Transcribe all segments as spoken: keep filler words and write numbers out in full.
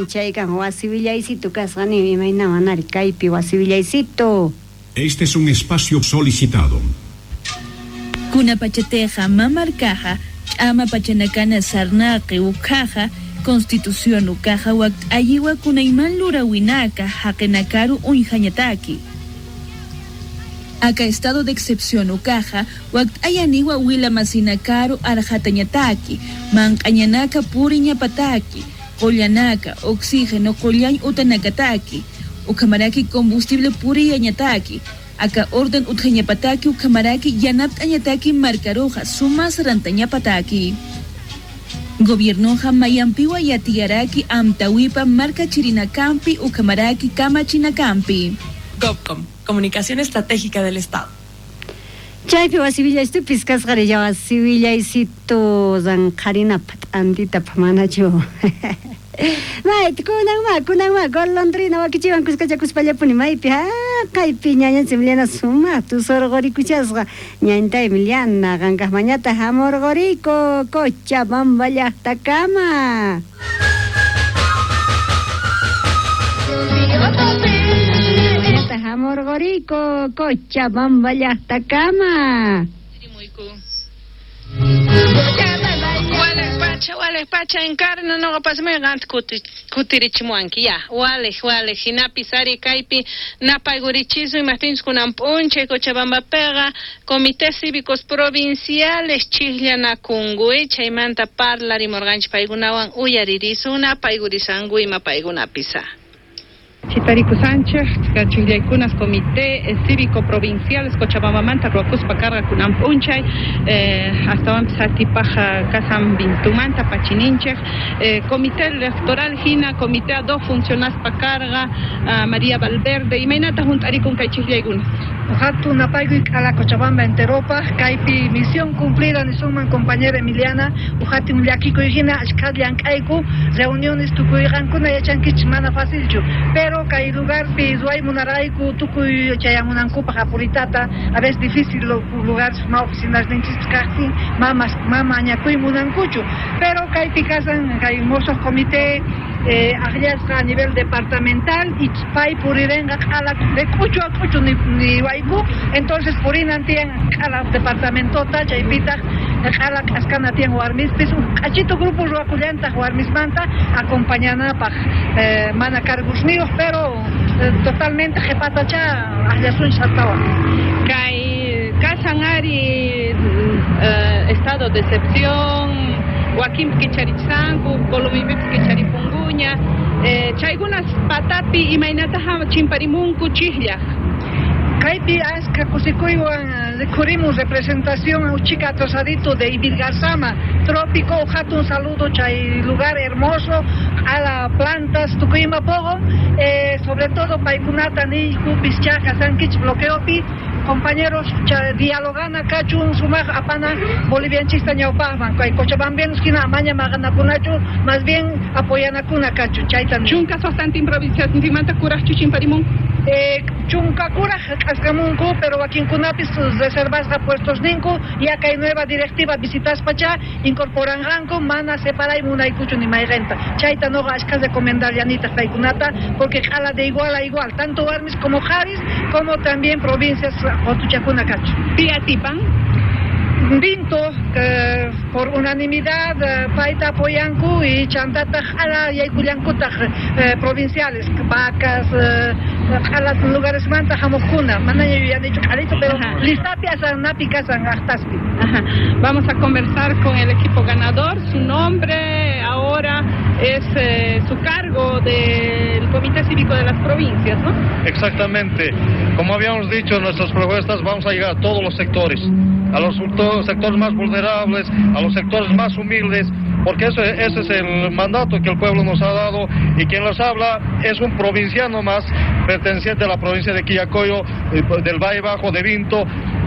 Chaykan wasi willaysitu kasqa nin imayna manari kaypi wasi willaysitu. Este es un espacio solicitado. Kuna pachateja mamarkaja ch'ama pachanakana sarnaqi ukhaja Constitución ukaja wakt ayiwa kunayman lurawinaka haqinakaru uñjañataki. Aka estado de excepción ukaja wakt ayaniwa wila masinakaru arjatañataki manq'añanaka puriñapataki qollanaka oxígeno qollañ utanakataki ukamaraki combustible puriyañataki aka orden utjañapataki ukamaraki yanapt'añataki markaroja sumas rantañapataki. Gobiernoja mayampiwa yatiyaraki amtawipa marka chirinakampi ukamaraki kamachinakampi. GOVCOM, Comunicación Estratégica del Estado. Chaypi wasi willaysitu kasqari ya wasi willaysitu zanqarinapa t'antitapa manachu. Mayt kunan ma kunan ma golondrina wakichiwan kuskachakuspallapuni maypi ha kaypi ñañanchik Emiliana sumaq tusurqurikuchasqa ñañtay Emiliana qankaqmañata hamurquriku Cochabamba llaqtakama. Hamurquriku Cochabamba llaqtakama. Pacha, wale pacha encarna no pasme gant kuti kutirichimuanki ya wale wale hinapi sari kaypi napaygurichisu imaptinchis kunan p'unchay Cochabamba pega comités cívicos provinciales chijllanakunku chaymanta parlarimurqanchik paykunawan uyaririsun napaygurisanku ima paykunapisa. Chitariku Sánchez, Chijllaykunas Comité Cívico Provinciales Cochabambamanta ruwakuspa karqa kunan p'unchay eh, astawanpis atipaj kasan Vintumanta pachininchej eh, Comité Electoral hina Comité a dos funcionaspa karqa uh, María Valverde imaynata junt'arikun kay chijllaykunas. Hatun napaykuy k'ala Cochabamba enteropaj kaypi misión cumplida nisunman compañera Emiliana uhatin llakikuy hina ashkha llank'ayku reuniones tukuyqankuna yachankichik mana facilchu pero kay lugarpi ruway munarayku tukuy chayamunankupaj apuritata a veces difícil lugar ma oficinas ninchis kaqtin mamas mama añakuy munankuchu pero kaypi kasan kay mosoj comité eh, aqllasqa a nivel departamental y pay purirenqa q'ala de k'uchu a k'uchu ni, ni wayku entonces purinan tiyan q'ala departamentota chaypitaq q'ala k'askana tiyan warmispis k'achito grupo ruwakullantaq warmismanta acompañanapaj eh, mana cargusniyuq pero eh, totalmente qhipatacha aqllasunchis astawan. Kay kasan ari eh, estado de excepción wakinpi kicharichisanku Colombipipis kicharipunkuña eh, chaykunas patapi imaynataja chimparimunku chijllaj. Kaypi aska kusikuywan rikhurimun representación uchika atrasadito de Ivirgarzama, trópico, hatun saludo chay lugar hermoso, a la plantas tukuyma pogo, eh, sobre todo paykunata niyku pischaja sankich bloqueopi, compañeros dialogana kachun sumaq apana bolivianchista ñawpaqman kay cochabambianos hina amaña maqanakunachu más bien apoyanakuna kachun chayta chunka suqtantin provinciasnintinmanta kuraqchu chimparimunku. Eh, chunka kuraj k'askamunku pero wakinkunapis reservasqa puestos ninku ya kay nueva directiva visitaspacha incorporanqanku mana separay munaykuchu ni mayqinta chayta noqa ashka recomendarllanitaq paykunata porque q'ala de igual a igual tanto warmis como qharis como también provincias qotuchakuna kachu. Pi atipan? Vinto eh, por unanimidad eh, payta apoyanku y chantataq q'ala yaykullankutaq eh, provinciales vacas eh, q'ala lugaresmanta hamuqkuna manaña yuyanichu q'alito pero listapi asanapi kasan aqtaspi. Ajá. Vamos a conversar con el equipo ganador. Su nombre ahora es eh, su cargo del Comité Cívico de las Provincias, ¿no? Exactamente. Como habíamos dicho en nuestras propuestas, vamos a llegar a todos los sectores, a los sectores más vulnerables, a los sectores más humildes, porque ese, ese es el mandato que el pueblo nos ha dado, y quien los habla es un provinciano más, perteneciente a la provincia de Quillacoyo, del Valle Bajo, de Vinto.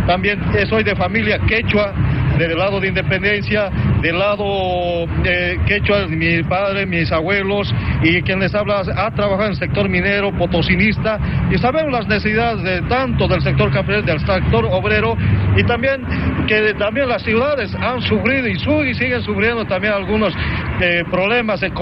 También soy de familia quechua, del lado de Independencia, del lado eh, quechua, mi padre, mis abuelos, y quien les habla ha trabajado en el sector minero, potosinista, y sabemos las necesidades de tanto del sector campesino, del sector obrero, y también que también las ciudades han sufrido y, su, y siguen sufriendo también algunos eh, problemas económicos.